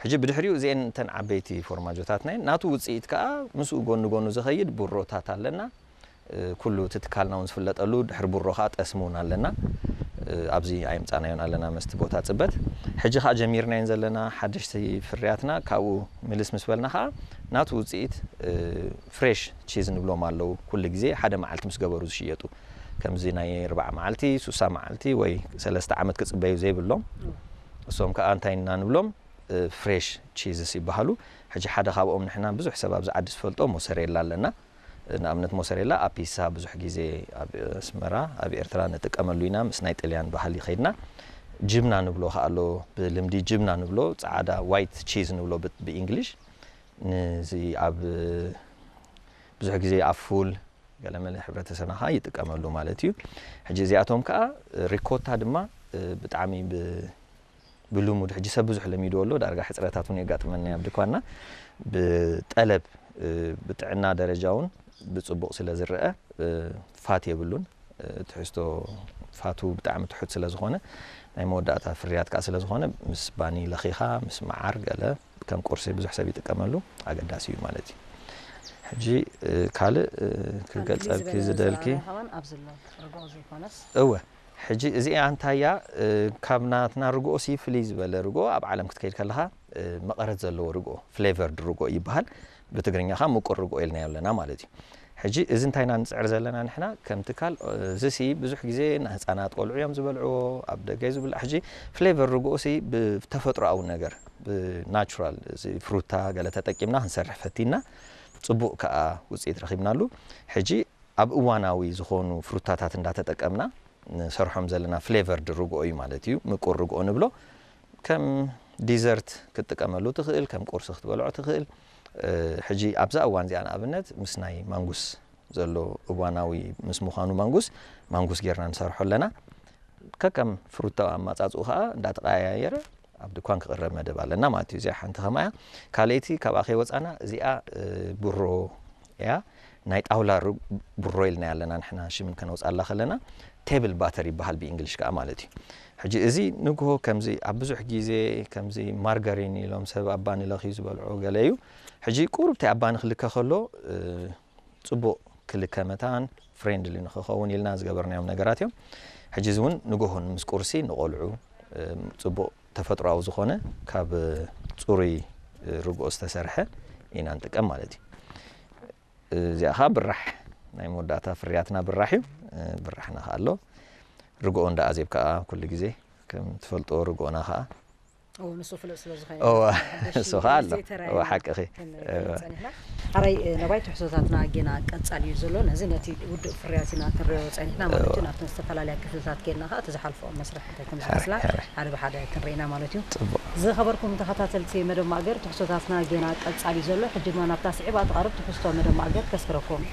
ሕጂ ብድሕሪኡ እዚአን እተን ዓበይቲ ፎርማጆታትና እየን። ናቱ ውፅኢት ከዓ ምስኡ ጎኒ ጎኑ ዝኸይድ ቡሮታት ኣለና። እ፣ ኩሉ እቲ ትካልና እውን ዝፍለጠሉ ድሕሪ ቡሮ ከዓ ጠስሚ እውን ኣለና። እ፣ ኣብዚ ኣየምፃናዮን ኣለና መስቲ ቦታ ፅበት። ሕጂ ከዓ ጀሚርናየን ዘለና ሓደሽቲ ፍርያትና ካብኡ ምልስ ምስ በልና ከዓ ናቱ ውፅኢት፣ እ፣ ፍሬሽ ቺዝ ንብሎም ኣለዉ። ኩሉ ግዜ ሓደ መዓልቲ ምስ ገበሩ ዝሽየጡ፣ ከምዚ ናይ ኣርባዓ መዓልቲ፣ ሱሳ መዓልቲ ወይ ሰለስተ ዓመት ክፅበዩ ዘይብሎም፣ እሶም ከዓ እንታይ ኢና ንብሎም? እ፣ ፍሬሽ ቺዝስ ይበሃሉ። ሕጂ ሓደ ካብኦም ንሕና ብዙሕ ሰብ ኣብዚ ዓዲ ዝፈልጦ ሞሰሬላ ኣለና። ንኣብነት ሞሰሬላ ኣብ ፒሳ ብዙሕ ግዜ ኣብ ኣስመራ፣ ኣብ ኤርትራ ንጥቀመሉ ኢና። ምስ ናይ ጥልያን ባህሊ ከይድና ጅብና ንብሎ ከኣ ኣሎ። ብልምዲ ጅብና ንብሎ፣ ጻዕዳ ዋይት ቺዝ ንብሎ ብ-፣ ብኢንግሊሽ። ንዚ ኣብ ብዙሕ ግዜ ኣብ ፉል ገለመለ ሕብረተሰብና ከኣ ይጥቀመሉ ማለት እዩ። ሕጂ እዚኣቶም ከኣ ሪኮታ ድማ፣ እ፣ ብጣዕሚ ብ-፣ ብልሙድ ሕጂ ሰብ ብዙሕ ለሚድዎ ኣሎ። ዳርጋ ሕጽረታት እውን የጋጥመና ኣብ ድኳንና። ብጠለብ፣ እ፣ ብጥዕና ደረጃ እውን ብጽቡቕ ስለ ዝረአ፣ እ፣ ፋት የብሉን። እ፣ ትሕዝቶ ፋቱ ብጣዕሚ ትሑት ስለ ዝኾነ፣ ናይ መወዳእታ ፍርያት ከኣ ስለ ዝኾነ፣ ምስ ባኒ ለኺኻ፣ ምስ መዓር ገለ ከም ቁርሲ ብዙሕ ሰብ ይጥቀመሉ፣ ኣገዳሲ እዩ ማለት እዩ። ሕጂ፣ እ፣ ካልእ፣ እ፣ ክገልጸልኪ ዝደልኪ? ኣብዚ ኣሎ ርግኦ ዘይኮነስ? እወ፣ ሕጂ እዚኣ እንታይ እያ? እ፣ ካብ ናትና ርግኦሲ ፍልይ ዝበለ ርግኦ ኣብ ዓለም ክትከይድ ከለኻ፣ እ፣ መቐረት ዘለዎ ርግኦ፣ ፍሌቨርድ ርግኦ ይበሃል። ብትግርኛ ኸዓ ምቁር ርግኦ ኢልናዮ ኣለና ማለት እዩ። ሕጂ እዚ እንታይ ኢና ንጽዕር ዘለና ንሕና ከም ትካል? እ፣ እዚሲ ብዙሕ ግዜ ንህፃናት ቆልዑ እዮም ዝበልዕዎ፣ ኣብ ደገ እዩ ዝብላዕ። ሕጂ ፍሌቨር ርግኦሲ ብተፈጥሮኣዊ ነገር፣ ብናቹራል፣ እዚ ፍሩታ ገለ ተጠቂምና ክንሰርሕ ፈቲና፣ ጽቡቕ ከኣ ውጽኢት ረኺብናሉ። ሕጂ ኣብ እዋናዊ ዝኾኑ ፍሩታታት እንዳተጠቀምና ንሰርሖም ዘለና ፍሌቨርድ ርግኦ እዩ ማለት እዩ። ምቁር ርግኦ ንብሎ። ከም ዲዘርት ክትጥቀመሉ ትኽእል፣ ከም ቁርሲ ክትበልዖ ትኽእል። እ፣ ሕጂ ኣብዛ እዋን እዚኣ ንኣብነት ምስ ናይ ማንጉስ ዘሎ እዋናዊ ምስ ምዃኑ ማንጉስ፣ ማንጉስ ጌርና ንሰርሖ ኣለና። ከከም ፍሩታ ኣማጻጽኡ ኸኣ እንዳተቐያየረ ኣብ ድኳን ክቕረብ መደብ ኣለና ማለት እዩ። እዚኣ ሓንቲ ከማያ። ካልኣይቲ ካብኣ ከይወጻና እዚኣ፣ እ፣ ቡሮ እያ። ናይ ጣውላ ሩ-፣ ቡሮ ኢልና ኣለና ንሕና ሽምን ከነውጻላ ከለና፣ ቴብል ባተር ይበሃል ብእንግሊሽ ከኣ ማለት እዩ። ሕጂ እዚ ንግሆ ከምዚ ኣብ ብዙሕ ግዜ ከምዚ ማርጋሪን ኢሎም ሰብ ኣብ ባኒ ለኽዩ ዝበልዖ ገለ እዩ። ሕጂ ቁሩብ እቲ ኣብ ባኒ ክልከ ከሎ፣ እ፣ ጽቡቕ ክልከ መታን ፍሬንድሊ ንኽኸውን ኢልና ዝገበርናዮም ነገራት እዮም። ሕጂ እዚ እውን ንግሆን ምስ ቁርሲ ንቆልዑ፣ እ፣ ጽቡቕ ተፈጥሮኣዊ ዝኾነ ካብ ጽሩይ ርግኦ ዝተሰርሐ ኢና ንጥቀም ማለት እዩ። እዚኣ ኸዓ ብራሕ ናይ መወዳእታ ፍርያትና ብራሕ እዩ። ብራሕና ኸዓ ኣሎ። ርግኦ እንዳ ኣዜብ ከኣ ኩሉ ግዜ ከም ትፈልጦ ርግኦና ኸዓ እዎ፣ ንሱ ፍሉጥ ስለ ዝኾነ እዎ፣ ሓድሽ እሱ ኸዓ ኣሎ። ዘይተራእየ እዎ፣ ሓቅኺ። ክንርኢ እዎ። ጸኒሕና። ሓራይ፣ እ፣ ነባይ ትሕዝቶታትና ጌና ቀጻሊ እዩ ዘሎ። ነዚ ነቲ ውዱእ ፍርያት ኢና ክንሪኦ ጸኒሕና ማለት እዩ። እዎ። ናብተን ዝተፈላለያ ክፍልታት ጌና ኸዓ እቲ ዝሓልፎ መስርሕ እንታይ ከም ሓራይ፣ ዝመስላ ሓራይ። ሓደ ብሓደ ክንርኢ ኢና ማለት እዩ። ጽቡቕ። ዝኸበርኩም ተኸታተልቲ መደብ ማእገር፣ ትሕዝቶታትና ጌና ቀጻሊ እዩ ዘሎ። ሕጂ ድማ ናብታ ስዒባ ትቐርብ ትሕዝቶ መደብ ማእገር ከስፍረኩም።